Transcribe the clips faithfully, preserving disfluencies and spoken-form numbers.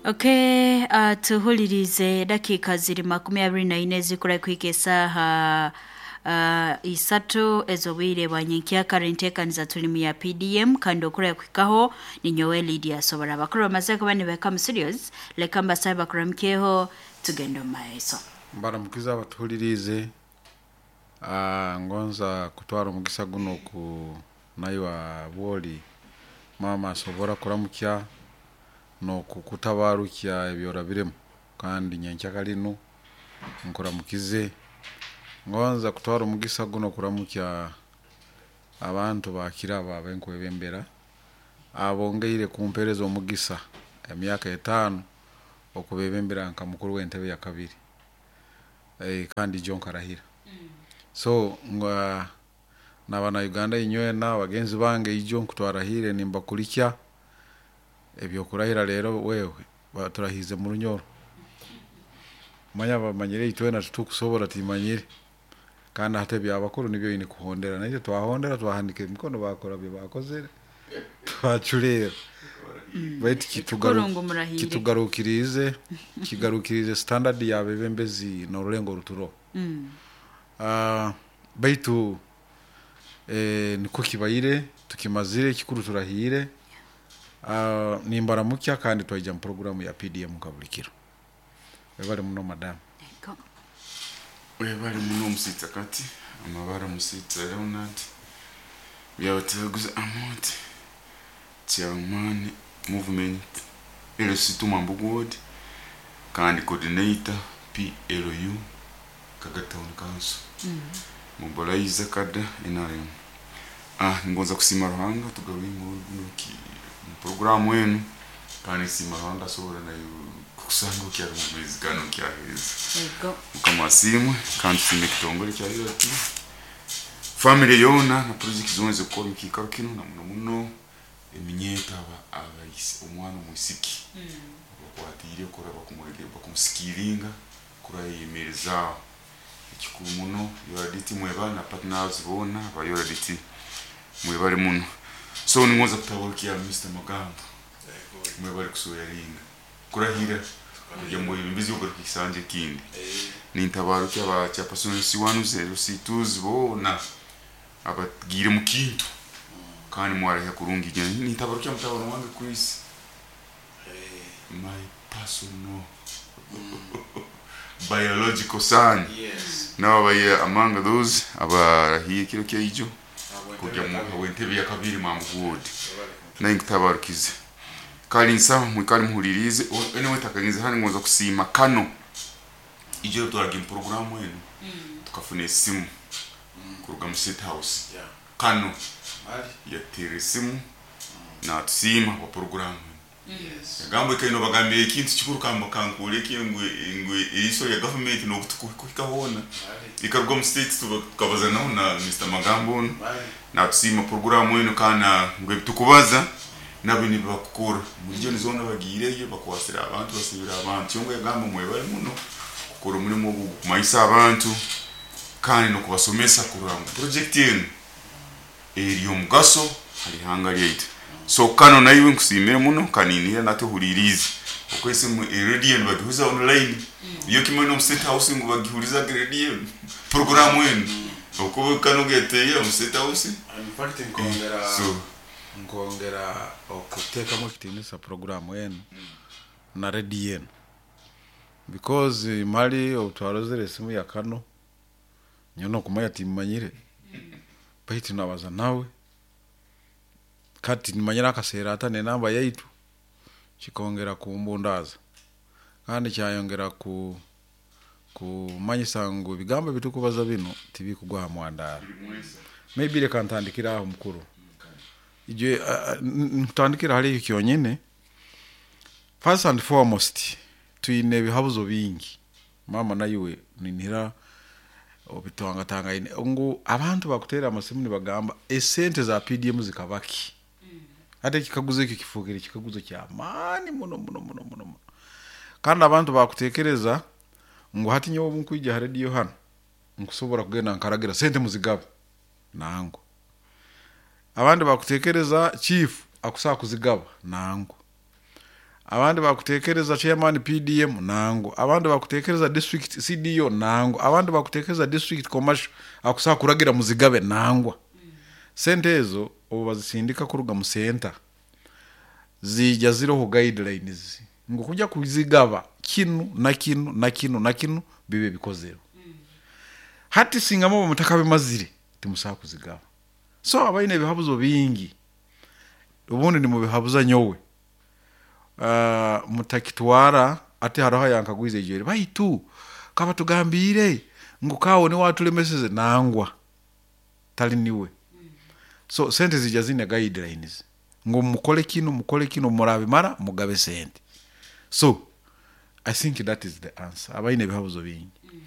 Okay, uh, tuhulirize dakika ziri makumi abiri na ine zikura kuhika esaha uh, isatu ez'obwire bwa nyenkyakara. Enteekaniza tulimu ya P D M kandi okura kuhikaho ni nyowe Lydia Sobora. Abakuru bamaze kuba nibeka mu studios, leka mbasabe bakuramukyeho tugende omu maiso. Mbaramukiza abatuhulirize. Uh, ngonza kutwara omugisa guno ku naiwa bwoli mama asobora kuramukya nokukutabarukya ebyorabiremu kandi nyenkyaka linu nkuramukize. Ngonza kutwara omugisa guno kuramukya abantu bakiraba abenkwebembera abongeire kumpereza omugisa emyaka etaano okubebembera nka mukuru w'entebe ya kabiri, e, kandi John Karahira. Mm. So nga nabana Uganda inywena bagenzi bange ijo nkutwarahire nimbakulikya ebyokurahira lero wewe baturahize mu Runyoro. Manya bamanyire itwena tutukusobora timanyire kandi hate byabakuru nibyo yini kuhondera naye twahondera twahandika emikono bakora bye bakozere twachulera. Mm. Baitu kitugaru kitugarukirize kigarukirize standard ya bebembezi n'orulengo ruturo. Mm. Uh, baitu eh, niko kibaire tukimazire kikuru turahire. Uh, nimbaramukya kandi twaija mu programu ya P D M kabulikiro. Webale muno madam. Webale muno musitsa kati amabara musitsa Leonard byabateguza amonte chairman movement L C two Mambugu Ward kandi coordinator P L U Kaga Town Council. Mm. Mobilizer kada N R M. Ah, ngonza kusima Ruhanga tugawe nguno ki programu yenu kandi sima Ruhanga sobora nayo kusanga kyari mu mezi gano kyaheza. Yego. Mukama asimwe kandi sime kitongole kya yoti. Family yona na project zonze ko mukikaro kino na muno muno eminyeta aba abayisi omwana omusiki. Mm. Bakwatire kora bakumwege bakumusikiringa kurayemereza ekikuru muno yoraditi mweba na partners bona bayoraditi mwebale muno. So ningoza kutabarukia Mister Magambo. Mwebale kusoyaringa kurahira kujya mu bimbizi ugarukisanje kindi. Nintabarukia aba chairperson C one zero C two bona abagire mu kintu kandi mwarahe kurungi nintabarukia mutabaro wange Chris. My personal biological son. Yes. Now abaye among those abarahiye kiro keijo kujya mu wentebe ya kabiri Mambugu Ward. Naye nkutabarukize kali nsa mwikali muhulirize anyway takagenze hano ngonza kusima kano ijo twaraga program yenu. Mm. Tukafuna esimu mm. kuruga mu State House. Yeah. Kano Ali yatere esimu. Mm. Na tusima kwa program. Yes. Yagambo kaino bagambiye ekintu kikuru kamba kankule kingwe ingwe eriso ya government no kutukuhika hona ikaruga mu state tukabaza naho na Mister Magambo na tusima program yenu kana ngwe tukubaza nabo ni bakukura muri yo zona bagireyo bakwasira abantu basibira abantu yongo yagamba mwebale muno kukora umurimo wo kumayisa abantu kandi no kubasomesa kuranga project yenu eri omugaso hari hanga lyaitu. So kano naiwe nkusimire muno kaninira natuhulirize okwese mu radio bagihuza online iyo kimwe no State House ngo bagihuriza radio program yenu uko kano geteye mu State House. In fact nkongera so nkongera okuteekamu ekitiinisa programu enu na radio enu because mali obutwarozere esimu ya kano nyono okumanya timmanyire baitu nabaza nawe kati nimanyira akaseera ata nenamba yaitu kikongera kumbundaza kandi kyayongera ku kumanyisa ngu ebigambo ebitukubaza bino tibikugwa mwandara. Maybe reka ntandikira aho mukuru ije ntandikira hali kyonyene. First and foremost tuine ebihabuzo bingi mama nayiwe ninira obitwangatanga ine ngu abantu bakutera amasimu nibagamba esente za P D M zikabaki. Mm. Ate kikaguzo ekyo kifukire kikaguzo kya maani muno muno muno muno. Kandi abantu bakutekereza ngu hati nyowe nkwija radio hano nkusobora kugenda nkaragira sente muzigabe nango. Abandi bakutekereza chief akusaa kuzigaba nango. Abandi bakutekereza chairman P D M nango, abandi bakutekereza district C D O nango, abandi bakutekereza district commercial akusa kuragira muzigabe nangwa. Sente ezo obu bazisindika kuruga mu center zija ziroho guidelines ngo kujya kuzigaba kinu na kinu na kinu na kinu bibe bikozero. Hati singamo mutakabe mazire timusa kuzigaba. So abaine bihabuzo bingi ubundi ni mubihabuza nyowe uh, mutakitwara ati haraho yankagwize ejere baitu kaba tugambire ngo kawo ni watulemeseze nangwa tali niwe. So sente zija zine guidelines ngo mukole kino mukole kino murabe mara mugabe sente. So I think that is the answer. Abaine bihabuzo bingi. Mm.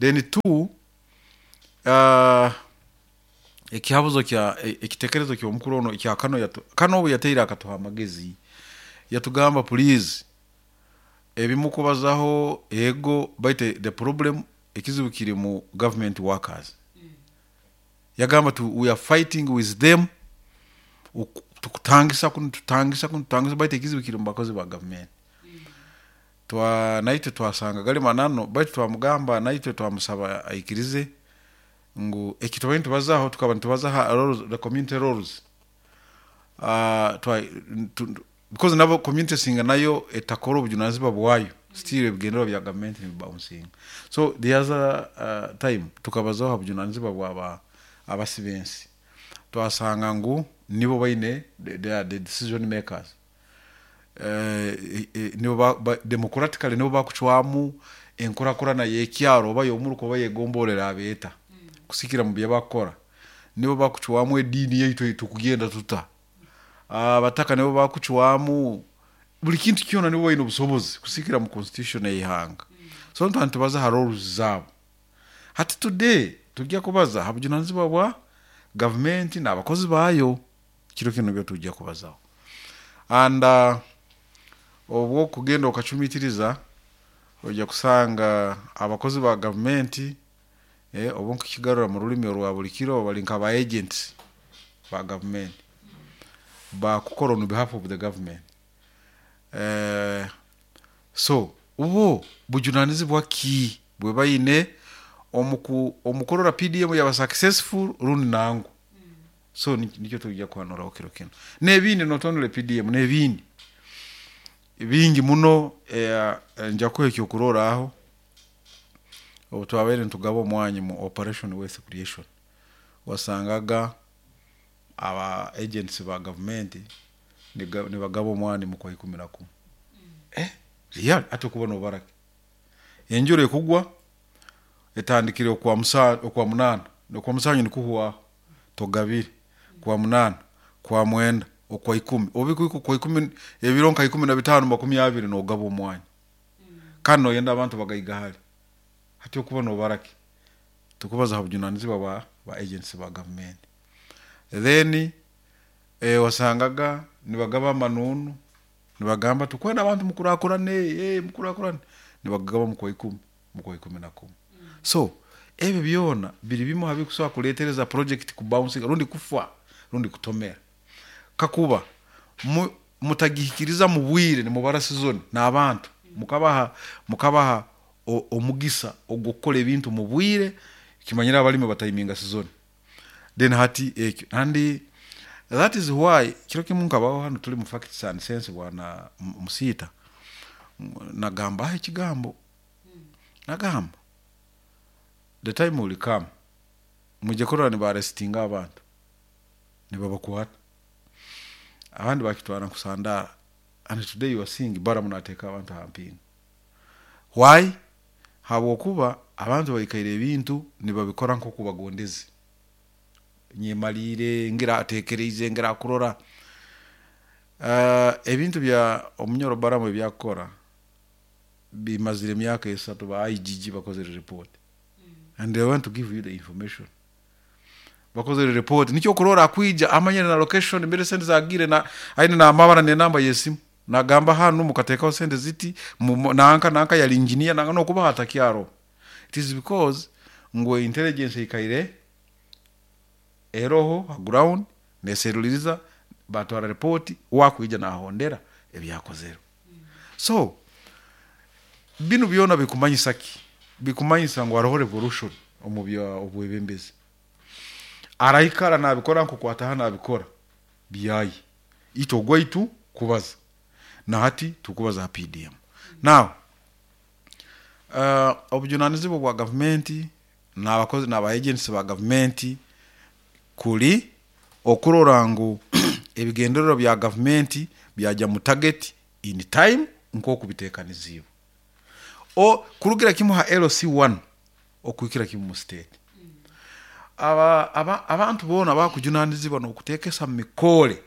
Then two, uh, ekihabuzo kya ekitekerezo kyo mukuru ono kya kano yatu, kano yateira akatuha amagezi yatugamba please ebimukubazaho ego baite the problem ekizibu kiri mu government workers. Mm. Yagamba tu we are fighting with them tukutangisa kuno tutangisa kuno tutangisa baite ekizibu kiri mu bakozi ba government. Mm. Twa naite twasanga gali manano baite twamugamba naite twamusaba aikirize ngu ekitobeni tubazaho tukaba tubazaha roles, the community roles uh twa tu, because nabo community singa nayo etakora obujunazibwa bwayo still ebigendero bya government ni bouncing. So the other uh, time tukabazaho obujunazibwa bwa abasibensi twasanga ngu nibo baine they are the decision makers eh uh, nibo ba, ba, democratically nibo bakuchwamu enkorakora na yekyaro oba yomuruko bayegomborera abeta kusikira mu byabakora nibo bakuchwamu edini yaitu tukugenda tuta abataka nibo bakuchwamu buli kintu kyona nibo bayina obusobozi kusikira mu constitution eyihanga. So ntantu baza roles zabo hati today tujya kubaza habujunanizibwa bwa government n'abakozi bayo kiro kino byo tujya kubazaho and uh, obwo kugenda okachumitiriza ojya kusanga abakozi ba government eh obo nkigarura mu rulimi rwa buli kiro bali nka ba agents ba government ba kukora on behalf of the government. Eh so ubo bujunanizibwa ki bwe bayine omuku omukorora P D M yaba successful rundi nango. So nikyo tujya kwanura okiro kino nebindi not only P D M nebindi bingi muno eh, nja kuhekyo kurora aho obu twabere ntugaba omwanya mu operation wealth creation wasangaga aba agents ba government ni bagaba omwanya mu kwa ikumi na kumwe. Eh real ate kubona obarake enjure kugwa etandikire okwa musa okwa munana okwa musanyu nikuhuwa togabire kwa munana kwa mwenda okwa ikumi obikuiko kwa ikumi ebironka ikumi na bitano makumi abiri nogaba omwanya. Mm. Kandi noyenda abantu bagayiga hali hati okubona obarake tukubaza habujunanizibwa ba ba agents ba government. Then eh wasangaga nibagaba amanunu nibagamba tukwenda abantu mukurakurane eh mukurakurane nibagaba mu kwa ikumi mu kwa ikumi na kumwe. Mm. So ebyo byona biri bimo habikuswa kuletereza project ku bouncing rundi kufa rundi kutomera kakuba mutagihikiriza mu bwire ni mubara season n'abantu mukabaha mukabaha omugisa ogukora ebintu mu bwire kimanyira abalimi batayiminga season then hati ekyo and that is why kiro kimu nkabaho hano tuli mu facts and sense bwana musita nagamba aho ekigambo nagamba the time will come muje korora ni barestinga abantu nibabakwata abandi bakitwara kusandara and today you are seeing bara munateka abantu hampinga why habwokuba abantu bayikaire ebintu nibabikora nko kubagondeze nyemalire ngira atekereize ngira kurora uh, ebintu bya omunyoro baramu byakora bimazire emyaka esatu ba I G G bakozere report. Mm. And they want to give you the information bakozere report nicyo kurora kwija amanyere na location mbere sente zagire na aine na amabara ne namba yesimu nagamba hano mukatekaho sente ziti nanka nanka yali engineer nanga no kuba hatakyaro. It is because ngo intelligence ikaire eroho ground neseruliriza batwara report wakuija na hondera ebyakozero. Mm. So binu byona bikumanyisa ki? Bikumanyisa ngu haroho revolution omu bya obwebembezi. Araikara nabikora nkokwataha nabikora byayi itwe ogwaitu kubaza na hati tukubaza ha P D M. Now uh, obujunanizibwa bwa gavumenti n'abakozi n'aba agents ba gavumenti kuli okurora ngu ebigendererwa bya gavumenti byajya mu target in time nk'oku biteekaniziibwe. O kurugira kimu ha L C one okuhikira kimu mu state. Aba, aba, abantu boona bakujunanizibwa n'okuteekesa mu mikore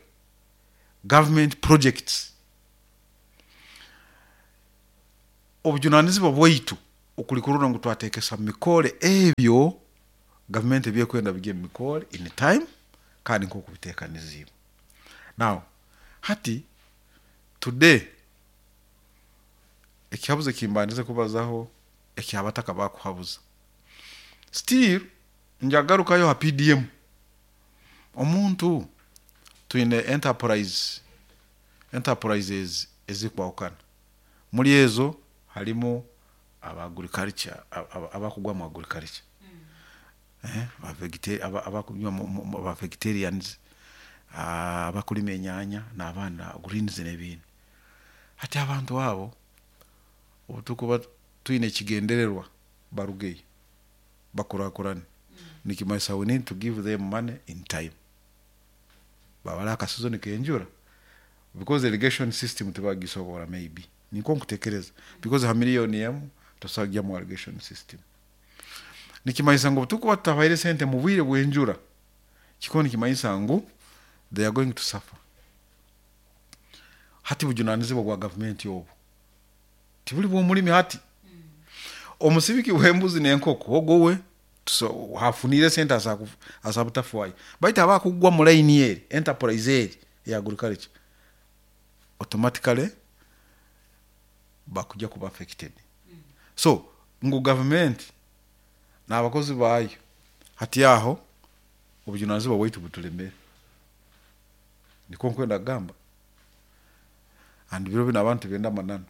government projects. Obujunanizibwa bwaitu okuli kurora ngu twateekesa mu mikore ebyo gavumenti ebyekwenda bijye mu mikore in time kandi nk'oku biteekaniziibwe. Now hati today ekihabuzo ekimbandize kubazaho ekyabataka bakuhabuza, still njagarukayo ha P D M. Omuntu twine enterprise enterprises ezikwahukana, muri ezo harimu aba agriculture, abakugwa mu agriculture, eh aba vegeta-, abakugwa mu aba vegetarians, abakulima enyanya n'abana greens n'ebindi. Hati abantu abo obutukuba twine ekigendererwa barugeyo bakurakurane, nikimanyisa we need to give them money in time. Babara akasizoni kenjura because irrigation system tibagisobora, maybe niko nkutekereza, because ha miliyoni emu tosagya mu irrigation system. Nikimanyisa ngu tukuba tutabaire sente mu bwire bw'enjura, kiko nikimanyisa ngu they are going to suffer. Hati bujunanizibwa bwa gavumenti obu tibuli bw'omulimi. Hati omusibiki w'embuzi n'enkoko ogowe hafunire sente asabutafwayo, baitu abakugwa mu line eri enterprise eri ya agriculture automatically bakujya kuba affected. So ngu government n'abakozi bayo hati aho obujunanizibwa bwaitu butulemere, niko nkwenda kugamba. And biro bino abantu benda manano.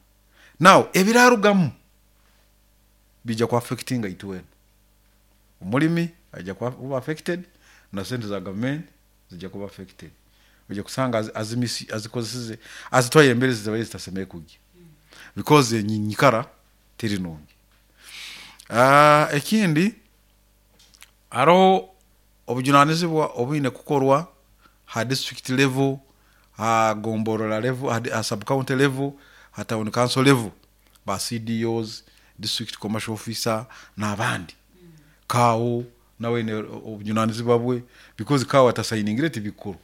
Now ebirarugamu bijja ku affectinga itwena. Omulimi ajja kuba affected na sente za government zijja kuba affected. Ojja kusanga azimisi azikozeseze azitwaye embere zibaye zitasemeye kujya because nyikara teri nungi. Ah, ekindi hariho obujunanizibwa obwine kukorwa ha district level, ha gomborora level, ha sub county level, ha town council level, ba C D Os, district commercial officer n'abandi. Kawo nawe ne obujunanizibwa bwe because kawo atasayiningire tibikuru.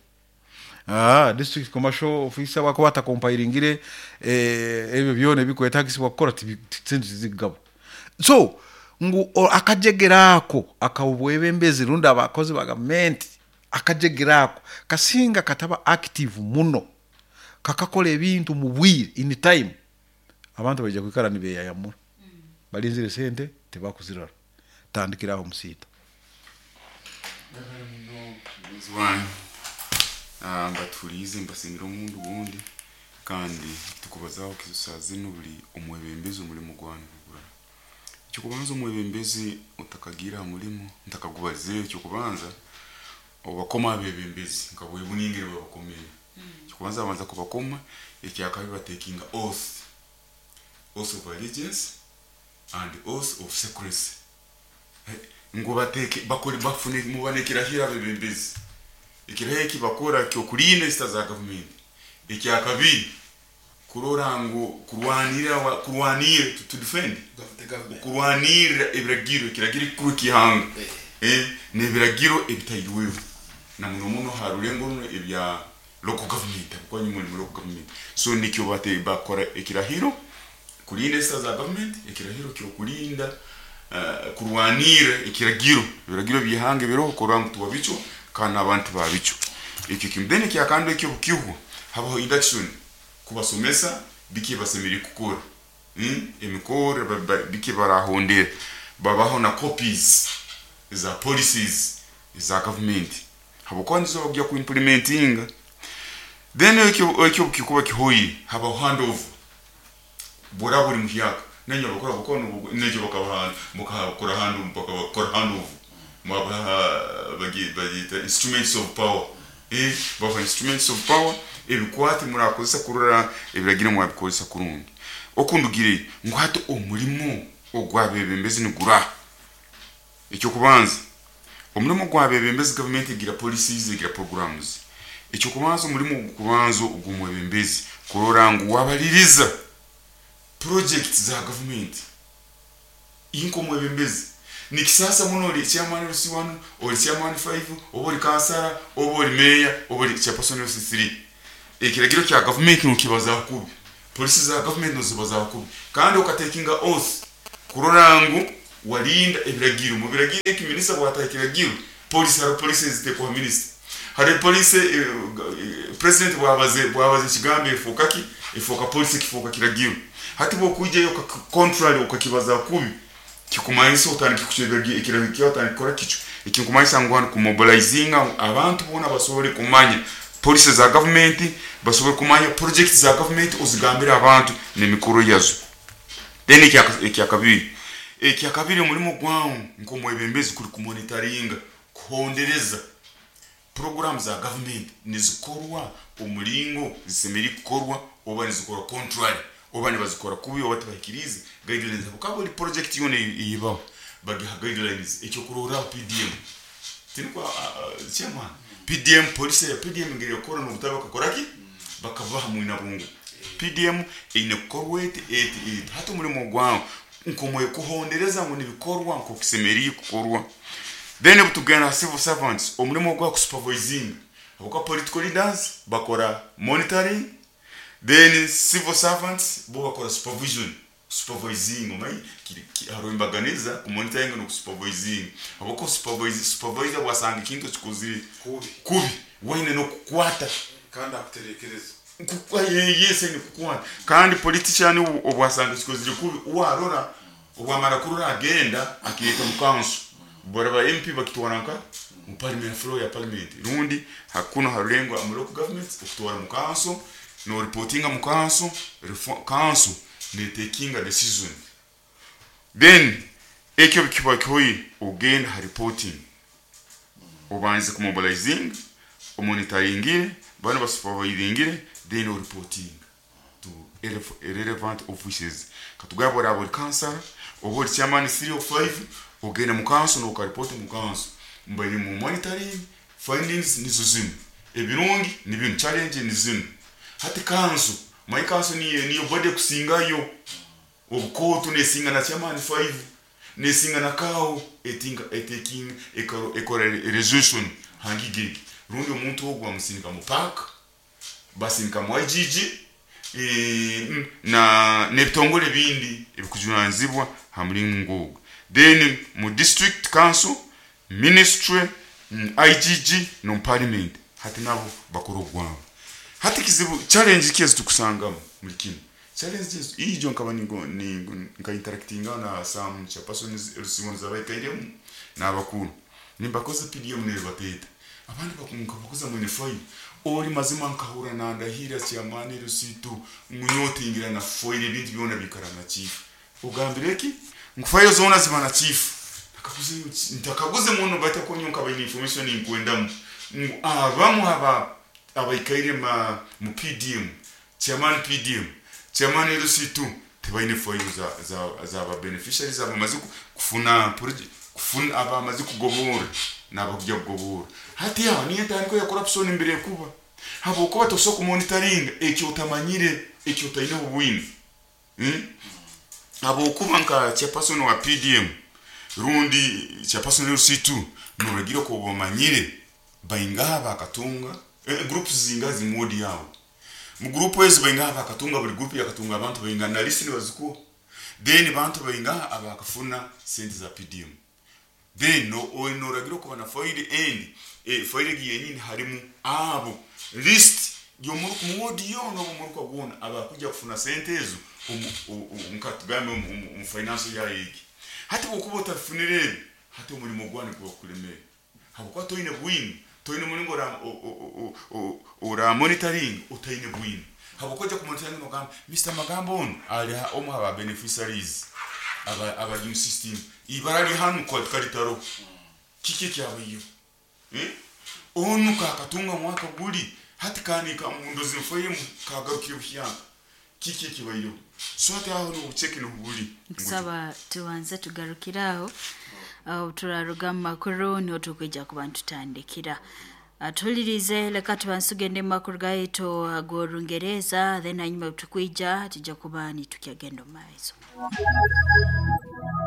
Ah, district commercial officer wako atakompairingire eh ebyo byone bikwetagisibwa kukora sente zigabo. So ngu akajegerako akawubwebembezi runda abakozi ba government akajegerako kasinga kataba active muno kakakola ebintu mu bwire in time, abantu bajja kwikara nibeyayamura balinzire sente tebakuzirara. Tandikiraho musita mbatulize mbasingira omundu gundi kandi tukubazaho kisazi nubuli omwebembezi omulimu gwanyu gura. Ekyokubanza omwebembezi otakagira mulimu ntakagubaze ekyokubanza obakoma abebembezi nka bwebuningire babakomeye. Ekyokubanza abanza kubakoma ekyakabi batekinga oath, oath of allegiance and oath of secrecy. Ngo bateke bakore bafune mubanekira hira abebembezi. Ekirahiro kibakora kyo kulinda sita za government. Ekyakabi kurora ngo kurwanira kurwanira to, to defend the government, kurwanira ebiragiro kiragiro kuru kihanga eh nebiragiro ebitayirweho na muno muno harulengo runo ebya local government kwa nyuma mu local government. So nikyo bate bakora ekirahiro kulinda sita za government, ekirahiro kyo kulinda uh, kurwanira ekiragiro ebiragiro bihanga biro kuranga tubabicho kana abantu babicho. Ekyo kimdeni kyakando ekyo bukihu habaho induction kubasomesa biki basemiri kukora mm? emikore biki barahondera babaho na copies za policies za government habokwanzo bagya ku implementing. Then ekyo ekyo kikuba kihoyi habaho handover Bora buri muhyaka nanyo bakora bukono nejo bakabahana mukakora handu bakakora handu mwabaha bagita instruments of power eh baba instruments of power ebikwati murakozesa kurora ebiragiro mwabikozesa kurungi okundugire ngo hati omulimo ogwabebembezi nigura. Ekyo kubanza omulimo gwabebembezi government egira policies egira programs. Ekyo kubanza omulimo kubanza ogumwebembezi kurora ngu wabaliriza projects za government inko mwebembezi nikisasa muno oli chairman L C one oli chairman five oba oli kansara oba oli mayor oba oli chairperson L C three. Ekiragiro kya government nukibaza kubi, policy za government nozibaza kubi, kandi okatekinga oath kurora ngu walinda ebiragiro. Mu biragiro eki minister bwata ekiragiro police hari police zitekwa minister hari police eh, president bwabaze bwabaze kigambe efoka ki efoka police kifoka kiragiro. Hati bwo kuijayo contrary ukakibaza kubi kikumanyisa otandika kuchebera ekiragiro kyo otandika kora kicho ekinkumanyisa ngu hano kumobilizinga abantu bona basobole kumanya police za government, basobole kumanya project za government ozigambira abantu n'emikoro yazo. Then ekya kabiri ekya kabiri omulimo gwawo nkomwebembezi kuri kumonitoringa kuhondereza program za government nizikorwa omulingo zisemeri kukorwa oba nizikorwa contrary oba nibazikora kubi oba tibahikirize guidelines. Bukaba buri project yone ibaho bagiha guidelines. Ekyo kurora P D M tinukwa uh, chairman P D M police ya P D M ngere kora n'obutaba bakakora ki bakabaha mwina bungu P D M eine kukorwa eti eti hati omulimo gwawo nkomwe kuhondereza ngo nibikorwa nko kisemeri kukorwa. Then butugana civil servants omulimo gwa supervising abuka political leaders bakora monitoring, then civil servants bo bakora supervision supervising omai harumbaganiza ku monitoring no supervising abako supervise supervisor wasanga ikintu kikozire kubi kubi wine no kukwata kandi akuterekereza kukwa yese ni kukwata kandi politician obwasanga kikozire kubi warora obwamara kurora agenda akiyeta mu council bora M P bakitwaranka mu parliament floor ya parliament rundi hakuna harulengo mu local government okutwara mu council no reportinga mu council council ne taking a decision. Then ekyo kiba kyoyi ogenda ha reporting obanze ku mobilizing omonitoringire bana basupervisingire then o reporting to irrelevant offices. Katugabora abo council obo chairman three or five ogenda mu council no ka report mu council mbaye mu monitoring findings nizo zino ebirungi ni bintu challenge ni zino hati council my council ni niyo body kusingayo obukoto nesinga na chairman five nesinga na kawo etinga etaking ekora resolution hangigege rundi omuntu ogwa musindika mu park basindika mu I G G e, na nebitongole bindi ebikujunanzibwa hamuli ngogo. Then mu district council ministry I G G no parliament hati nabo bakora ogwabo. Hati kizibu challenge kizi tukusangamo muri kino challenge ijo nkaba ningo ningo nka interactinga na some chairpersons L C one zabaikairemu n'abakuru nimbakoze P D M ne bateta abandi bakunka bakoza mwene file oli mazima nkahura na ndahira chairman L C two munyotingira na foile ibintu byona bikara na chief ugambireki ngufile zona ziba na chief nakaguze ntakaguze muno bata konyonka bayini information inkwendamu abamu haba abaikaire ma mu P D M chairman P D M chairman L C two tebaine foile za za za ba beneficiaries abamaze kufuna project kufuna abamaze kugobora nabakujya kugobora hati yaho niyo tandiko ya corruption imbere kuba habo kuba tosoko monitoring ekyo utamanyire ekyo utaine ubwini hmm? Abo kuba nka chairperson wa P D M rundi chairperson L C two noragira ko bomanyire baingaha bakatunga e, groups zinga zimodi yawo mu group ezi baingaha bakatunga buli group yakatunga abantu bainga na list bazuko then bantu baingaha abakafuna sente za P D M then no onoragira ko bana file end e file yenyini harimu abo list yo muri kumwodi yo no muri kwagona abakuja kufuna sente ezo nkatugambe mu finance ya yiki hati bokuba utafunire hati umurimo gwane kwa kulemera habo toine bwini toine mulingo ra ora monitoring utaine bwini Habukoja kumonitoringa nogamba Mister Magambo ono ali omu aba beneficiaries aba aba new system ibara li hanu kwa kalitaro kiki kyabayo eh onu kakatunga mwaka guli hati kani ka mundozi mfoyemu kagarukire buhyanga kiki kibayo so ati aho no check no buli kusaba tubanze tugarukiraho uh, turaruga makuru no tukwijja kubantu tandikira atulirize leka tubansugende makuru gaito agorungereza then hanyuma tukwija tujja kuba ni tukyagenda maiso.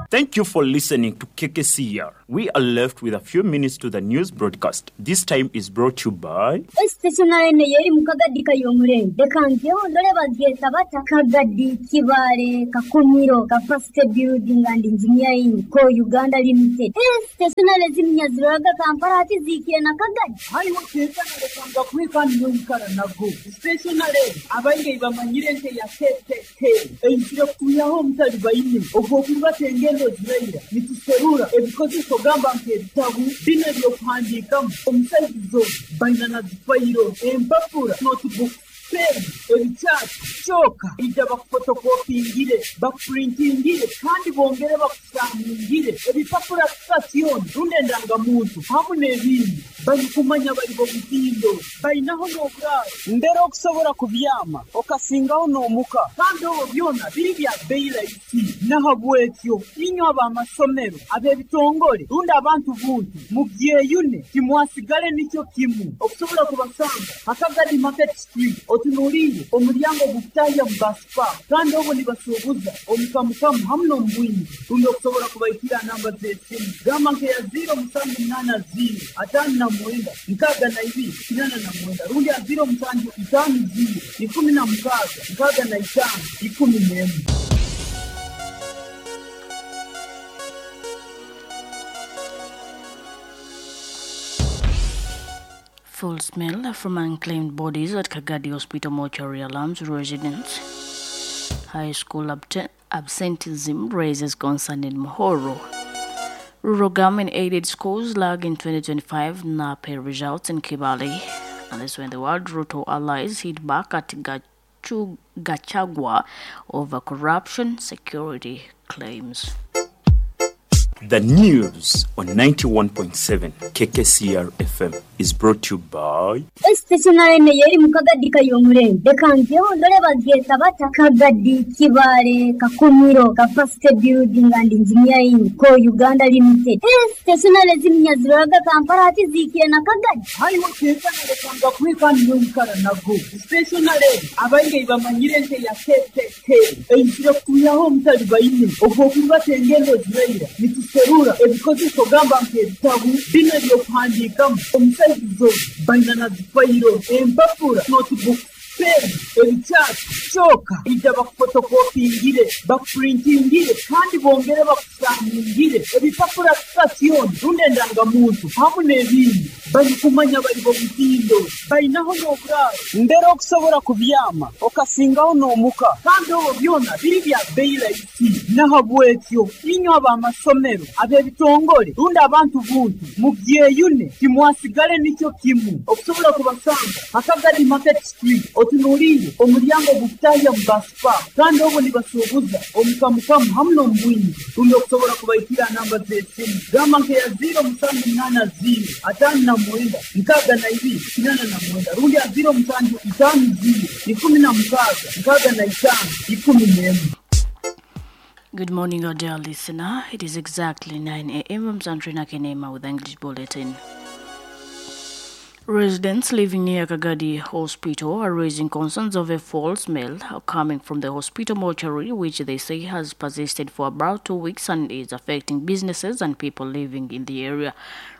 Thank you for listening to K K C R. We are left with a few minutes to the news broadcast. This time is brought to you by Stationary yeri mukagadi kayomure. Dekangyo ndole bagyeta bata Kagadi Kibale Kakumiro Capacity Building and Engineering Co Uganda Limited. Stationary zimnyaziraga Kampala ati zikire na Kagadi. Hariho stationary kanga kwika niyumkara nago. Stationary abainge bamanyire nte ya K K K. Eyikire kuyaho mutali bayine. Ogwo tengendo ziraira nituserura ebikozeso gamba nk'ebitabu bino ebyokuhandiikamu omusaizizo baina na zifayiro empapura notebook pen ebikyati kyoka ija bakufotokopingire bakupurintingire kandi bongere bakusaningire ebipapura sitasioni rundi endangamuntu hamu n'ebindi balikumanya bali b'omutindo balinaho n'oburaaro mbere okusobola kubyama okasingaho n'omuka kandi obwo byona biri bya bbeeyi rahisi nahabwekyo inywe ab'amasomero ab'ebitongole rundi abantu buntu mubyeyune timwasigale nikyo kimu okusobola kubasanga Akagadi Market Street otunuulire omulyango gukutahya mu baspa kandi obwo nibasuubuza omukamukamu hamu n'omubwingi rundi okusobola kubaikira namba z'esimu gamba nkeya ziro musanju munaana ziro ataano na mwenda nkaaga na ibiri kinaana na mwenda rundi ya ziro musanju itaano ziro ikumi na mukaaga nkaaga na itaano ikumi n'emu. Foul smell from unclaimed bodies at Kagadi Hospital mortuary alarms residents. High school abte- absenteeism raises concern in Muhoro. Rural government-aided schools lag in twenty twenty-five NAPE results in Kibale. And this when the world Ruto allies hit back at Gachu- Gachagua over corruption security claims. The news on ninety-one point seven K K C R F M is brought to you by Stationary yeri mukagadi kayomure. Dekangyo ndole bagyeta bata Kagadi Kibale Kakumiro Capacity Building and Engineering Co Uganda Limited. Stationary zimnyaziraga Kampala ati zikire na Kagadi. Hariho stationary kanga kwika niyumkara nago. Stationary abainge bamanyire nte ya K K K. Eyikire kuyaho mutali bayine. Ogwo kuba tengendo ziraira nituserura ebikozeso gamba nk'ebitabu bino ebyokuhandiikamu omusaizizo baina na zifayiro empapura notebook pen ebikyati kyoka ija bakufotokopingire bakupurintingire kandi bongere bakusaningire ebipapura sitasioni rundi endangamuntu hamu n'ebindi balikumanya bali b'omutindo balinaho n'oburaaro mbere okusobola kubyama okasingaho n'omuka kandi obwo byona biri bya bbeeyi rahisi nahabwekyo inywe ab'amasomero ab'ebitongole rundi abantu buntu mubyeyune timwasigale nikyo kimu okusobola kubasanga Akagadi Market Street otunuulire omulyango gukutahya mu baspa kandi obwo nibasuubuza omukamukamu hamu n'omubwingi rundi okusobola kubaikira namba z'esimu gamba nkeya ziro musanju munaana ziro ataano na mwenda nkaaga na ibiri kinaana na mwenda rundi ya ziro musanju itaano ziro ikumi na mukaaga nkaaga na itaano ikumi n'emu. Good morning, our dear listener. It is exactly nine a.m. I'm Sandrina Kenema with English Bulletin. Residents living near Kagadi Hospital are raising concerns of a foul smell coming from the hospital mortuary, which they say has persisted for about two weeks and is affecting businesses and people living in the area.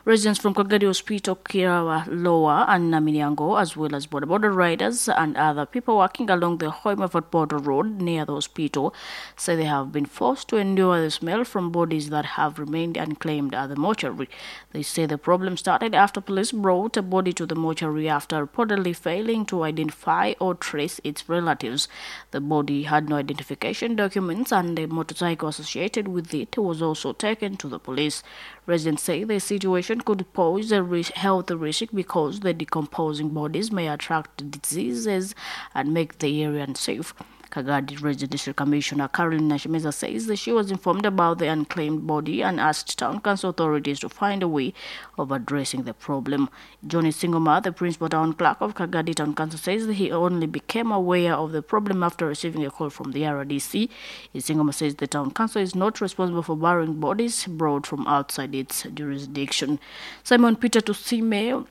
Residents from Kagadi Hospital, Kirawa Lower and Namilyango, as well as border border riders and other people working along the Hoima Border Road near the hospital, say they have been forced to endure the smell from bodies that have remained unclaimed at the mortuary. They say the problem started after police brought a body to the mortuary after reportedly failing to identify or trace its relatives. The body had no identification documents and a motorcycle associated with it was also taken to the police. Residents say the situation could pose a risk, health risk because the decomposing bodies may attract diseases and make the area unsafe. Kagadi Resident District Commissioner Caroline Nashimeza says that she was informed about the unclaimed body and asked town council authorities to find a way of addressing the problem. Johnny Singoma, the principal town clerk of Kagadi Town Council, says that he only became aware of the problem after receiving a call from the R D C. Singoma says the town council is not responsible for burying bodies brought from outside its jurisdiction. Simon Peter Tusime,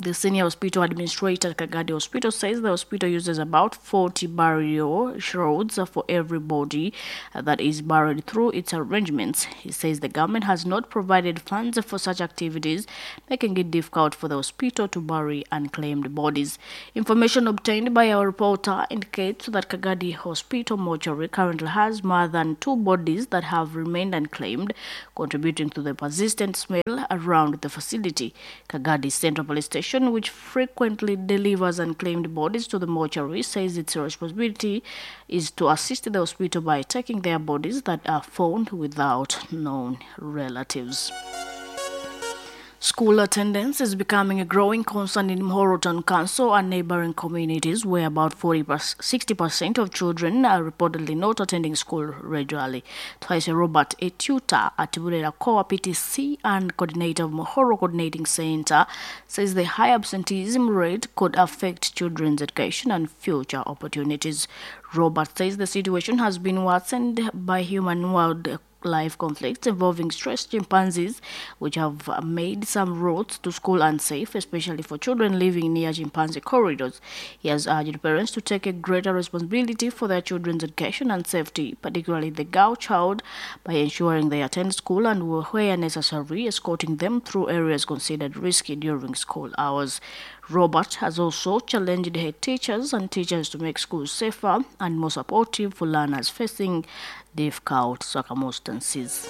the senior hospital administrator at Kagadi Hospital, says the hospital uses about forty burial shrouds for every body that is buried through its arrangements. He says the government has not provided funds for such activities, making it difficult for the hospital to bury unclaimed bodies. Information obtained by our reporter indicates that Kagadi Hospital mortuary currently has more than two bodies that have remained unclaimed, contributing to the persistent smell around the facility. Kagadi Central Police Station, which frequently delivers unclaimed bodies to the mortuary, says its responsibility is to assist the hospital by taking their bodies that are found without known relatives. School attendance is becoming a growing concern in Muhorro Town Council and neighboring communities, where about forty sixty percent of children are reportedly not attending school regularly. Twice Robert, a tutor at Burera Koa P T C and coordinator of Muhorro Coordinating Center, says the high absenteeism rate could affect children's education and future opportunities. Robert says the situation has been worsened by human wild life conflicts involving stressed chimpanzees, which have made some routes to school unsafe, especially for children living near chimpanzee corridors. He has urged parents to take a greater responsibility for their children's education and safety, particularly the girl child, by ensuring they attend school and, where necessary, escorting them through areas considered risky during school hours. Robert has also challenged head teachers and teachers to make schools safer and more supportive for learners facing difficult circumstances.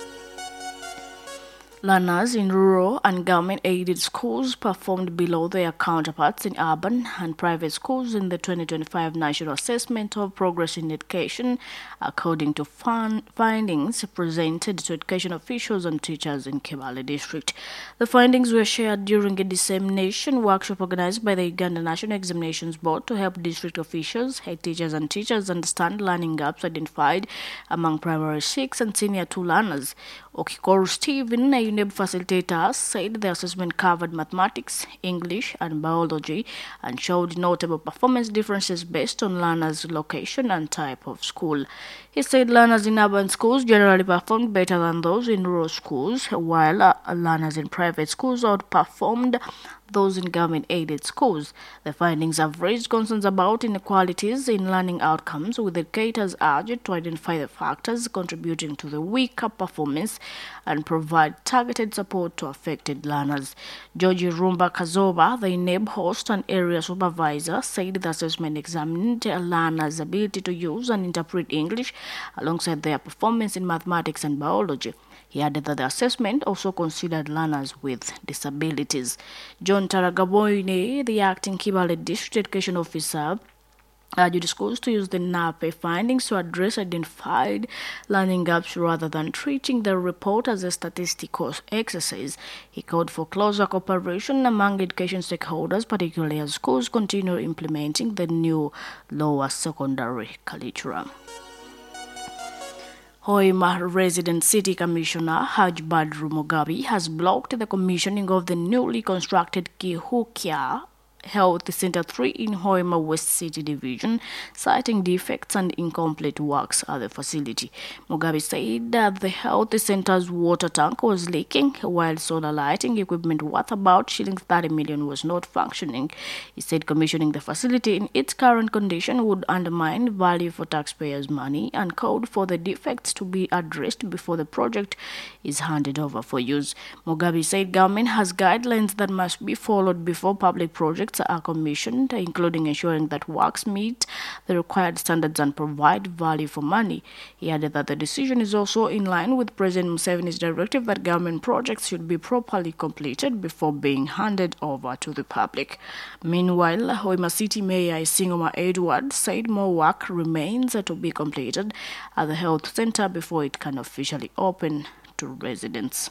Learners in rural and government-aided schools performed below their counterparts in urban and private schools in the twenty twenty-five National Assessment of Progress in Education, according to fun findings presented to education officials and teachers in Kibaale District. The findings were shared during a dissemination workshop organized by the Uganda National Examinations Board to help district officials, head teachers and teachers understand learning gaps identified among primary six and senior two learners. Okikoru Stephen, a U N E B facilitator, said the assessment covered mathematics, English and biology and showed notable performance differences based on learners' location and type of school. He said learners in urban schools generally performed better than those in rural schools, while uh, learners in private schools outperformed those in government-aided schools. The findings have raised concerns about inequalities in learning outcomes, with educators urged to identify the factors contributing to the weaker performance and provide targeted support to affected learners. George Rumba Kazoba, the U N E B host and area supervisor, said the assessment examined learners' ability to use and interpret English alongside their performance in mathematics and biology. He added that the assessment also considered learners with disabilities. John Taragaboine, the acting Kibaale District Education Officer, urged schools to use the N A P E findings to address identified learning gaps rather than treating the report as a statistical exercise. He called for closer cooperation among education stakeholders, particularly as schools continue implementing the new lower secondary curriculum. Hoima Resident City Commissioner Haj Badru Mugabe has blocked the commissioning of the newly constructed Kihukia Health Center three in Hoima West City Division, citing defects and incomplete works at the facility. Mugabe said that the health center's water tank was leaking, while solar lighting equipment worth about shillings thirty million was not functioning. He said commissioning the facility in its current condition would undermine value for taxpayers' money and called for the defects to be addressed before the project is handed over for use. Mugabe said government has guidelines that must be followed before public projects are commissioned, including ensuring that works meet the required standards and provide value for money. He added that the decision is also in line with President Museveni's directive that government projects should be properly completed before being handed over to the public. Meanwhile, Hoima City Mayor Isingoma Edward said more work remains to be completed at the health center before it can officially open to residents.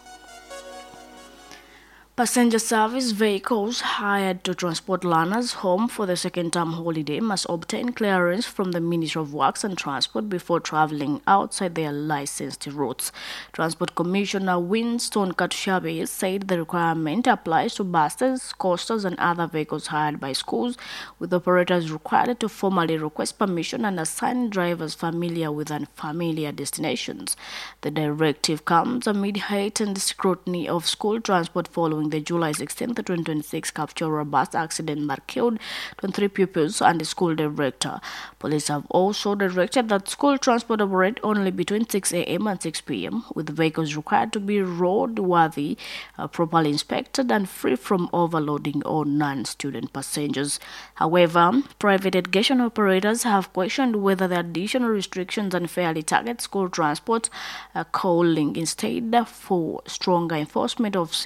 Passenger service vehicles hired to transport learners home for the second term holiday must obtain clearance from the Ministry of Works and Transport before traveling outside their licensed routes. Transport Commissioner Winston Katushabe said the requirement applies to buses, coasters, and other vehicles hired by schools, with operators required to formally request permission and assign drivers familiar with unfamiliar destinations. The directive comes amid heightened scrutiny of school transport following the July sixteenth, twenty twenty-six Kapchorwa bus accident that killed twenty-three pupils and the school director. Police have also directed that school transport operate only between six a m and six p m, with vehicles required to be roadworthy, uh, properly inspected, and free from overloading or non-student passengers. However, private education operators have questioned whether the additional restrictions unfairly target school transport, uh, calling instead for stronger enforcement of safety